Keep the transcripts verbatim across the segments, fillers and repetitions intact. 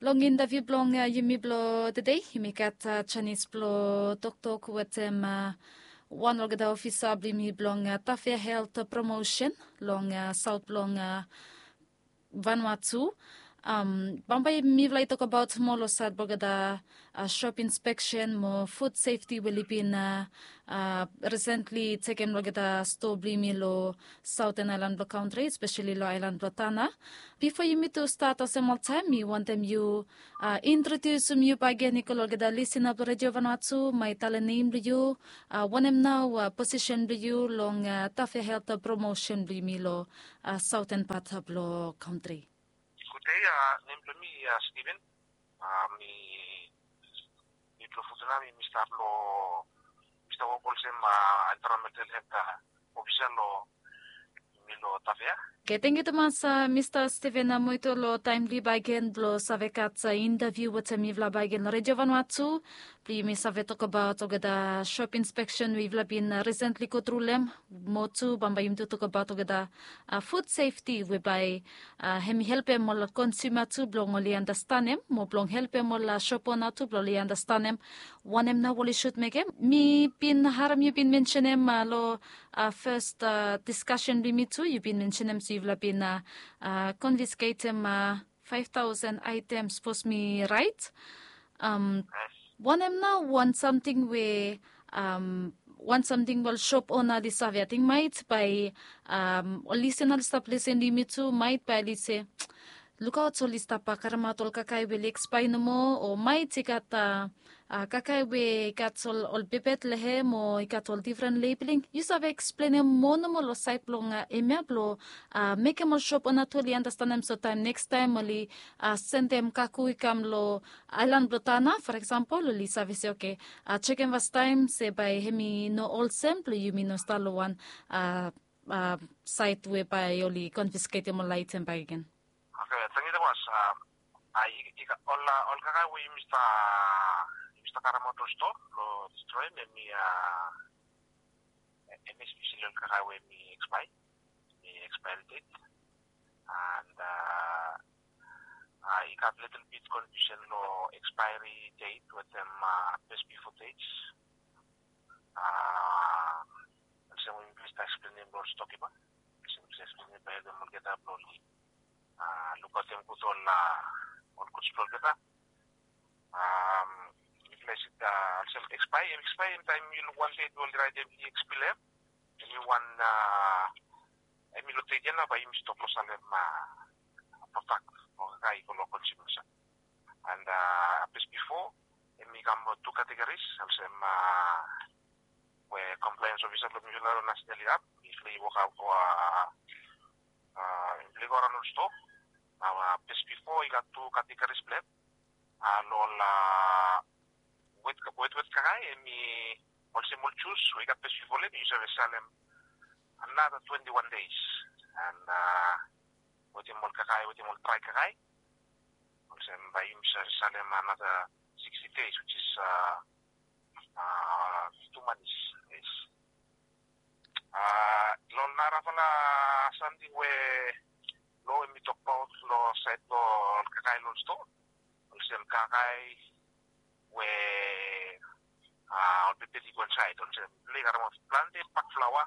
Long intaviu blong yumi blong tede, yumi gat janis blong toktok wetem wan olgeta ofisa blong yumi blong Tafea Helt Promosen long saot blong Vanuatu. Bambae mifala i tokbaot moa long saed blong olgeta sop inspeksen mo fud sefti we oli bin risentli tekem long olgeta stoa blong yumi long saoten aelan blong kantri, espeseli long aelan blong Tana. Bifo yumi tu stat olsem oltaem, mi wantem yu introdiusim yu bakegen i go long olgeta lisina blong Redio Vanuatu, mo talem nem blong yu, wanem nao posisen blong yu long Tafea Helt Promosen blong yumi long saoten pat blong kantri. Gudei, nem blong mi Steven. Mi mi blong Futuna, mi mi stap long, mi stap wok olsem environmental helt ofisa long mi long Tafea. Oke, tangkiu tumas Mista Steven Amoito long taem blong yu bakegen blong save gat intaviu wetem mifala bakegen long Redio Vanuatu blong yumi save tokbaot olgeta sop inspeksen we yufala bin risentli go tru long hem. Mo tu bambae yumi tu tokbaot olgeta fud sefti we bae hem i helpem ol konsuma tu blong oli andastanem, mo blong helpem ol sop ona tu blong oli andastanem wanem nao oli sud mekem. Mi bin harem yu bin mensenem long fes diskasen blong yumi tu, yu bin mensenem se yufala bin konfisketem faef taosen aetem, sapos mi raet. Wanem nao wan samting we wan samting we ol sop ona oli save, ating maet bae ol lisina oli stap lisin long yumi tu, maet bae oli se, lukaot, oli stap karemaot ol kakae we oli ekspaea nomo, o maet i gat kakae we i gat ol pepet long hem o i gat ol difren lebeling. Yu save eksplenem moa nomo long saed blong hemia blong mekem ol sop ona tu oli andastanem, so taem nekstaem oli sendem kago i kam long aelan blong Tana, for eksempel, oli save se, oke, jekem fastaem se bae hem i no olsem blong yumi no stap long wan saed we bae oli konfisketem ol aetem bakegen. Oke, tangkiu tumas. Ol kakae we yumi stap, yumi stap karemaot long stoa blong distroem, hemi, hemi espeseli ol kakae we hemi ekspaea, hemi expiry date. And i gat litil bit konfiusen long expiry date wetem best before dates. Olsem we mi stap eksplenem long ol stokipa, olsem mi stap eksplenem bae helpem olgeta blong oli lukaotem gud ol, ol guds blong olgeta. Mifala i se olsem ekspaea, hemi ekspaea, taem yu luk wan deit we oli raetem i ekspelem, hemi wan, hemi long deit ia nao bae yumi stop long salem prodak o kakae i go long konsumers. And best before, hemi kam long tu kategoris, olsem we compliance officer blong mifala long National i gat, mifala i wok, mifala i go araon long stoa. Nao best before i gat tu kategoris blong hem. Long ol wet, wet, wet kakae, hemi olsem ol jus we i gat best before long hem, yu save salem another twenty-one days. And wetem ol kakae, wetem ol drae kakae, olsem bae yumi save salem another sixty days, which is two months. Yes. Long narafala samting we loa hemi tokbaot long saed blong ol kakae long stoa, olsem kakae we ol pepet i go insaed, olsem mifala i karemaot plante bak flaoa,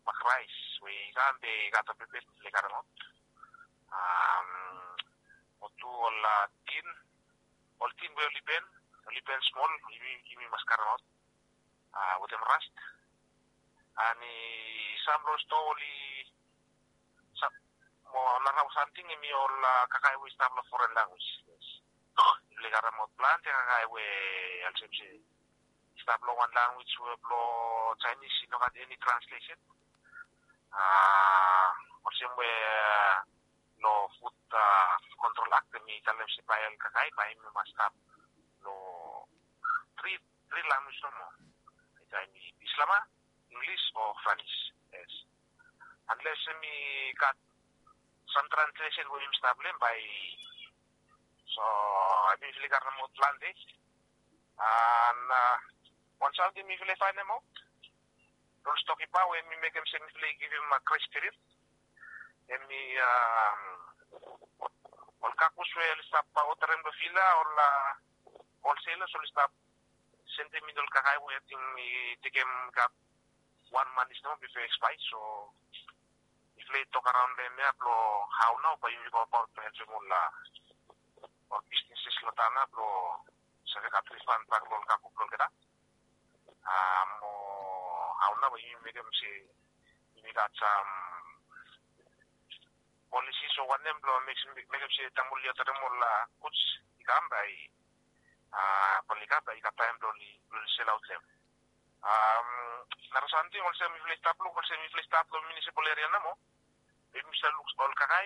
bak raes we i kam be i gat ol pepet, mifala i karemaot. Mo tu ol tin, ol tin we oli ben, oli ben smol, yumi, yumi mas karemaot wetem rast. And i sam long stoa oli, mo narafala samting hemi ol kakae we i stap long foren lanwis. Yes. Mifala i karemaot plante kakae we olsem se i stap long wan lanwis we blong Jaenis, i no gat eni translesen. Olsem we long Food Control Act hemi talem se bae ol kakae bae hemi mas stap long tri, tri lanwis nomo. Bae hemi Bislama, Inglis o Franis. Yes. Unless hemi gat sam translesen we yumi stap long hem bae. So hemi mifala i karemaot plante. And wan samting mifala i faenemaot long stokipa we hemi mekem se mifala i givim grace period, hemi ol kakus we oli stap odarem long fil, la ol ol selas ol i stap sendem in ol kakae we ating i tekem gat wan manis nao bife ekspae. So mifala i tok araon long em ya blong hao nao bae yumi go abaot blong helpem ol ol bisneses long taon ya blong save gat rifan bak long ol kago blong olgeta. Mo hao nao bae yumi mekem se yumi gat sam polisi so wanem blong mekem se taem ol i odarem ol guds i kam bae ol i kam bae i gat taem blong ol i selaot long em. Nara samting olsem mifala i stap long olsem mifala i stap long munisipal eria namo, bae yumi save luk ol kakae